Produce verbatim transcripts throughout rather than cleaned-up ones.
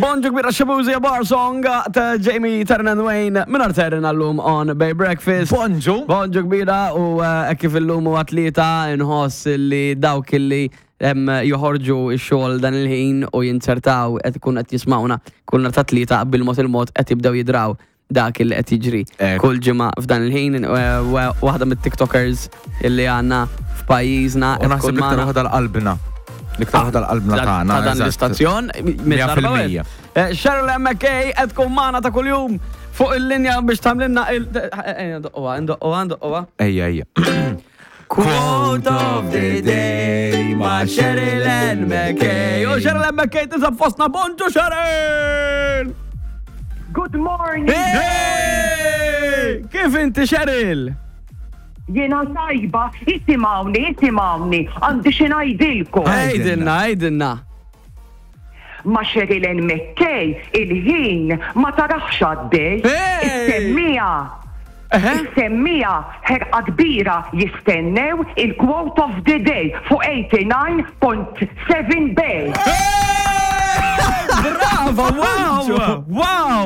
Bonġu kbira, Shaboozey, Bar Song ta' Jamie, Taryn and Wayne minn Taryn għallum on Bay Breakfast. Bonġu. Bonġu kbira u eh, kif illum u atleta nħoss li dawk li em, joħorġu x-xogħol dan il-ħin u jinsertaw qed ikun qed jismawna kull nhar ta' Tlieta, bil-mod il-mod qed jibdew jidraw dak il qed jiġri Ek. kull ġimgħa f'dan il-ħin. eh, wa- Waħda mit-TikTokers illi għandna f'pajjiżna U qed naħseb tkun l-iktar magħna. waħda l-qalbna. L-iktar waħda l-qalbna tagħna. Ta' dan eżatt. l-istazzjon. Mija fil-mija. Cheryl McKay qed tkun magħna ta' kuljum fuq il-linja biex tagħmlilna il- eh, Ndoqquha, ndoqquha, ndoqquha. Ejja, ejja. Quote of the day ma' Cheryl Ann McKay. U Cheryl Ann McKay tinsab fostna. Bonġu, Cheryl! Good morning. Hey! Kif inti, Cheryl? Jiena tajba, isimgħuni, isimgħuni, għandi xi ngħidilkom. Għidilna, għidilna. Ma' Cheryl Ann McKay, il-ħin ma taraħx għaddej. Hey! Is-semmija, Eħe? is-semmija ħerqa kbira jistennew il-quote of the day fuq eighty-nine point seven Bay. Brava, wow,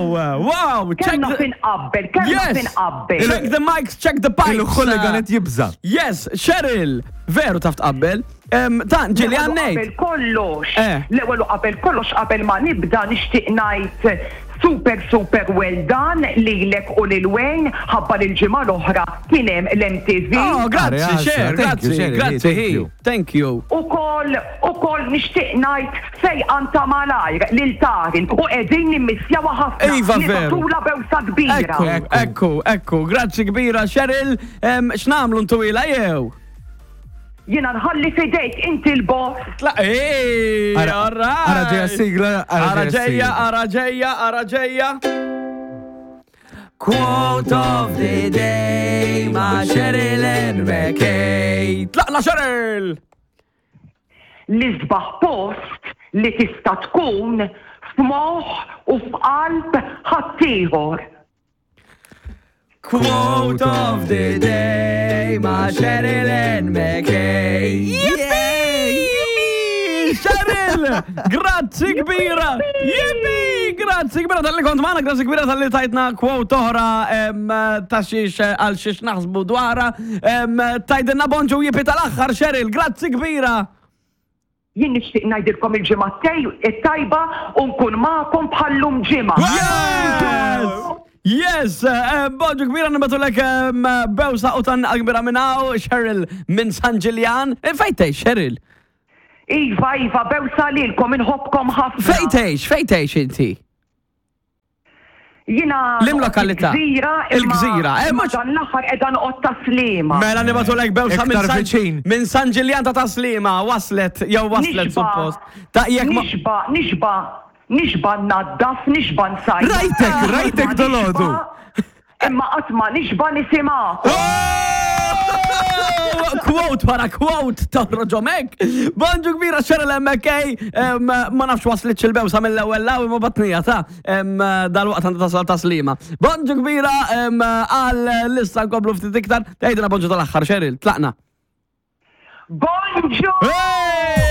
wow, wow. Check Kemm naf the, inqabbel, kemm naf yes. inqabbel. Check the mics, check the pipes. Il-hooligan qed jibża. Yes, Cheryl, veru taf tqabbel. Em, Ta' ġili L-ewwel u għannejt. qabel kollox, Eh. l-ewwel u qabel kollox, qabel ma nibda, nixtieq ngħid super super well done lilek u lil Wayne ħabba lil ġimgħa l-oħra kien hemm l-M T V. Oh, grazzi, Grazzi, Cher, thank you, grazzi, Cheryl, grazzi, thank hi. you. Thank you. Ukoll ukoll nixtieq ngħid fejqan ta' malajr lil Tarin u qegħdin nimmissjawha ħafna. Iva, veru. Nibagħtulha bewsa kbira. Ekku, ekku, ekku, grazzi kbira, Cheryl. Em, X'nagħmlu, ntwila jew? Jiena nħalli fidejk, inti l-boss. Tla, ej, Ara- all right. Ara ġeja sigla, ara Ara ġeja ġeja, sigla. ara ġeja, ara ġeja. Quote of the day ma' Cheryl Ann McKay. Tlaqna, Cheryl! L-isbaħ post li tista' tkun f'moħħ u f'qalb ħaddieħor. Quote of the day ma' Cheryl Ann McKay. Yippee! Cheryl! Grazzi kbira! Yippee! Grazzi kbira talli kont magħna, grazzi kbira talli tajtna quote oħra em, ta' xiex għal xiex naħsbu dwarha. Em, Tgħidilna bonġu, yippee tal-aħħar, Cheryl, grazzi kbira! Jien nixtieq ngħidilkom il-ġimgħa t-tajba u nkun magħkom bħallum ġimgħa. Yes! Yes! eh, Bonġu kbira, nibagħtulek em, bewsa u tan kbira minn hawn, Cheryl minn San Ġiljan. Eh, Fejn tgħix, Cheryl? Iva, Iva, bewsa lilkom, inħobbkom ħafna. Fejn tgħix, fejn tgħix inti? Jiena Lim lokalità? Il-Gżira. Il-Gżira, eh, Imma mhux- dan l-aħħar qiegħda noqgħod Tas-Sliema. Mela nibagħtulek bewsa minn Iktar San, viċin. minn San Ġiljan ta' Tas-Sliema, waslet, jew waslet Nixba. suppost. Ta' jekk ma. Nixba, nixba, nixba naddaf, nixba nsajjar. Rajtek, rajtek Ma dolodu. nixba- Imma qatt ma nixba nisimgħek. Oh! Quote wara quote toħroġ hekk. Bonġu kbira, Cheryl M K. Em, Ma nafx waslit il-bewsa mill-ewwel law imma batnija ta' em, dal-waqt għandha tasal Tas-Sliema. Bonġu kbira em, għal lista nkomplu ftit iktar. Tgħidilna bonġu tal-aħħar, Cheryl, tlaqna. Bonġu! Hey!